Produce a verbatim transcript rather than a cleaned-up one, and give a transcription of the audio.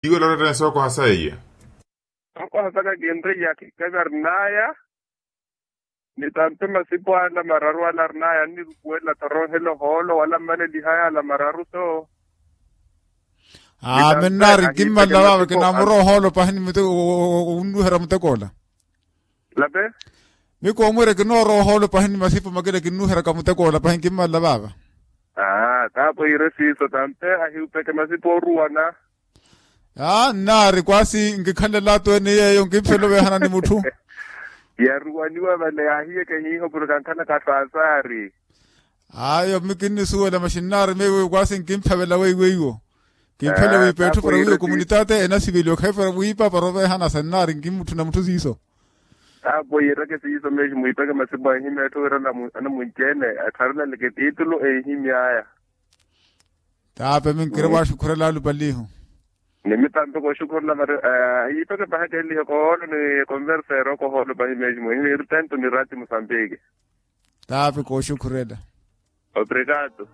Iwe loretta ni sookoha saiya. Sookoha saka kinriya kikavya rinaya. Ni tampe masipo ala mararu ala rinaya annirukuwela torohela ohoolo wala mmalelihaya ala mararu to. Aa minnaari nkimmalela vava kinamura ohoolo pahi ni muteko. Onnuhera muteko ola. Lape. Mikoomwira kinoora ohoolo pahi ni masipo makina kinnuheraka muteko ola pahi nkimmalela vava. Aa taapo iire siiso tampe ahiupeke masipo oruwana. Aa nnaari kwaasi nkikhanlelatu ene yeeyo nkimphela oveehana ni mutthu. Yaruwaniwa vale yaahiyeke hiiho porke ankhanaka asaasaari. Ayo mi kinnisuwela maxinnaari meewiyo kwaasi nkimphavela weiweiwo. Kimphela wiipa etthu para wiiyo kumunitaate enasiveliwa khayi para wiipa para oveehana sa nnaari nkimutthu na mutthu siiso. Taapo yiireke siiso meeshi mwiipeke masipo anhimya etthu wira anamunci-ene atthareleleke tiitulu enhimy'aya. Taape minkire waaxukhurela alupalihu. Ni mitampe kooxukhurela vari. Yiipeke paha keelihe kohoolo ni konverseero kohoolo pahi meeshi muhimu iri tento ni rati musambiki. Taape kooxukhurela. Obrigado.